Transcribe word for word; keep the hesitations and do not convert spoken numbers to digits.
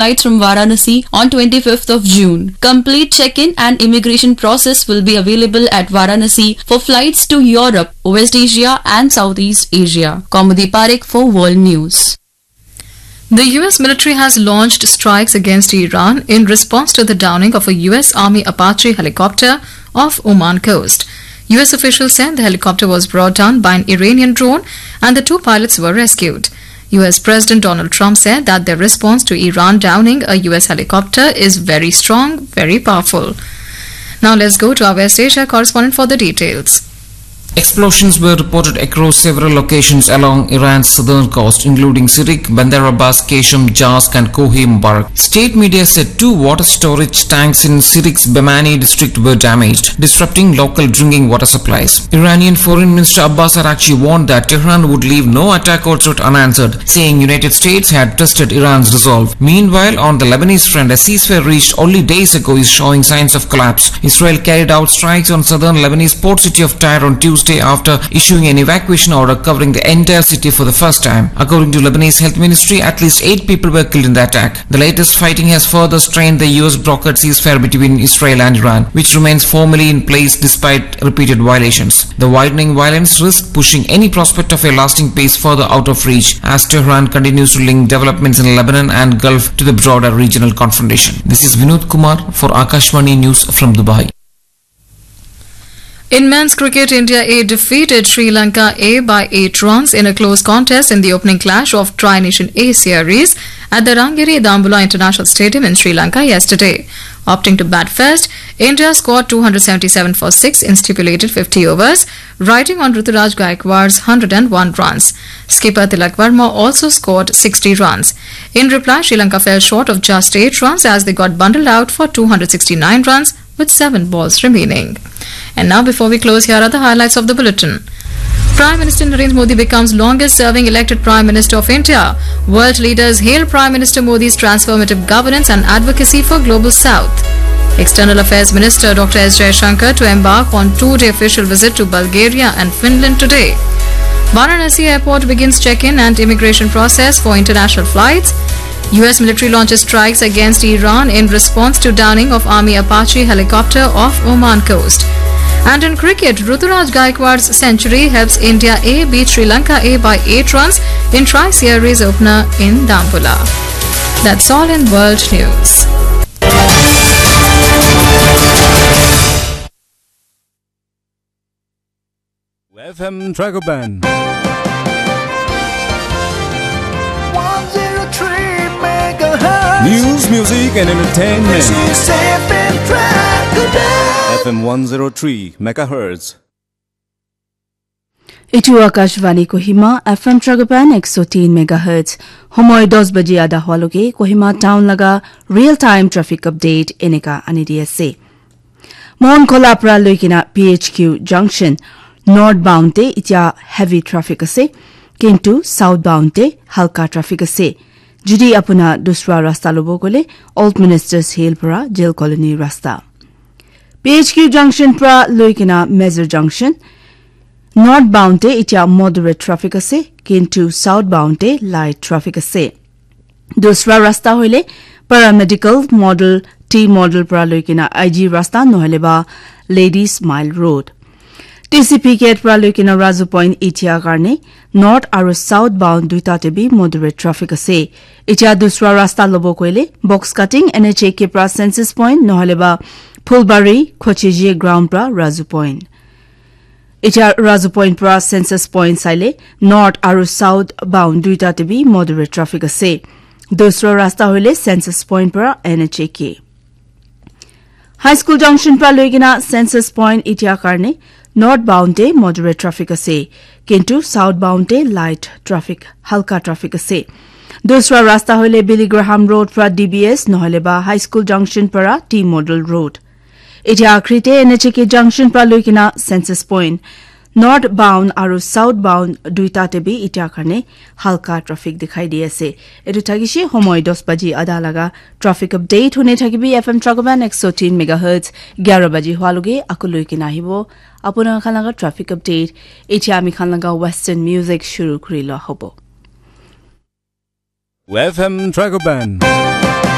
flights from Varanasi on twenty-fifth of June. Complete check-in and immigration process will be available at Varanasi for flights to Europe, West Asia and Southeast Asia. Kaumudi Parekh for World News. The U S military has launched strikes against Iran in response to the downing of a U S Army Apache helicopter off Oman coast. U S officials said the helicopter was brought down by an Iranian drone and the two pilots were rescued. U S President Donald Trump said that their response to Iran downing a U S helicopter is very strong, very powerful. Now let's go to our West Asia correspondent for the details. Explosions were reported across several locations along Iran's southern coast, including Sirik, Bandar Abbas, Qeshm, Jask, and Kohi Mubarak. State media said two water storage tanks in Sirik's Bamani district were damaged, disrupting local drinking water supplies. Iranian Foreign Minister Abbas Araghchi warned that Tehran would leave no attack or threat unanswered, saying United States had tested Iran's resolve. Meanwhile, on the Lebanese front, a ceasefire reached only days ago is showing signs of collapse. Israel carried out strikes on southern Lebanese port city of Tyre on Tuesday after issuing an evacuation order covering the entire city for the first time. According to Lebanese Health Ministry, at least eight people were killed in the attack. The latest fighting has further strained the U S brokered ceasefire between Israel and Iran, which remains formally in place despite repeated violations. The widening violence risk pushing any prospect of a lasting peace further out of reach as Tehran continues to link developments in Lebanon and Gulf to the broader regional confrontation. This is Vinod Kumar for Akashvani News from Dubai. In men's cricket, India A defeated Sri Lanka A by eight runs in a close contest in the opening clash of Tri Nation A series at the Rangiri Dambulla International Stadium in Sri Lanka yesterday. Opting to bat first, India scored two hundred seventy-seven for six in stipulated fifty overs, riding on Ruturaj Gaikwad's hundred and one runs. Skipper Tilak Varma also scored sixty runs. In reply, Sri Lanka fell short of just eight runs as they got bundled out for two hundred sixty-nine runs with seven balls remaining. And now, before we close, here are the highlights of the bulletin. Prime Minister Narendra Modi becomes longest serving elected Prime Minister of India. World leaders hail Prime Minister Modi's transformative governance and advocacy for Global South. External Affairs Minister Doctor S Jaishankar to embark on two-day official visit to Bulgaria and Finland today. Varanasi Airport begins check-in and immigration process for international flights. U S military launches strikes against Iran in response to downing of Army Apache helicopter off Oman coast. And in cricket, Ruturaj Gaikwad's century helps India A beat Sri Lanka A by eight runs in Tri Series opener in Dambulla. That's all in world news. F M Dragoban. One zero three megahertz. News, music, and entertainment. This is F M Dragoban. F M one zero three megahertz. Etu Akashvani Kohima, F M Dragoban ek so tin megahertz. Homoi dos baji ada hua loge Kohima town laga real time traffic update eneka ani di ase. Monkhola pra loikena P H Q junction north bound te itya heavy traffic ase, kintu south bound te halka traffic ase. Jodi apuna dusra rasta lobo gole Old Ministers Hill pra Jail Colony rasta. P H Q junction pra loikena Major junction north bound te itya moderate traffic ase, kintu south bound te light traffic ase. Dusra rasta hoile Paramedical Model, T Model pra loikena I G rasta nohole ba Ladies Mile Road. T C P gate pra loikena Razu Point itya karne north aru south bound duita te bi moderate traffic ase. Itya dusra rasta lobo koile box cutting N H A K pra Census Point nohole ba Phulbari Khochiji ground pra Razu Point. Itya Razu Point pra Census Point saile north aru south bound duita te bi moderate traffic ase. Dusra rasta hoile Census Point pra N H A K. High School junction pra loikena Census Point itya karne north bound te moderate traffic ase, kintu south bound te light traffic, halka traffic ase. Dusra rasta hoile Billy Graham Road pra D B S nohole ba High School junction pra T Model Road. Itya akhri te N H A K junction pra loikena Census Point north bound aru south bound duita te bi itya karne halka traffic dikhai di ase. Etu thakishe homoi dos baji ada laga traffic update hune thakibi F M Dragoban ek so tin megahertz, gyara baji hua loge aku loikena ahibo apuna khan laga traffic update. Itya ami khan laga western music shuru kuri lo hobo. F M Dragoban.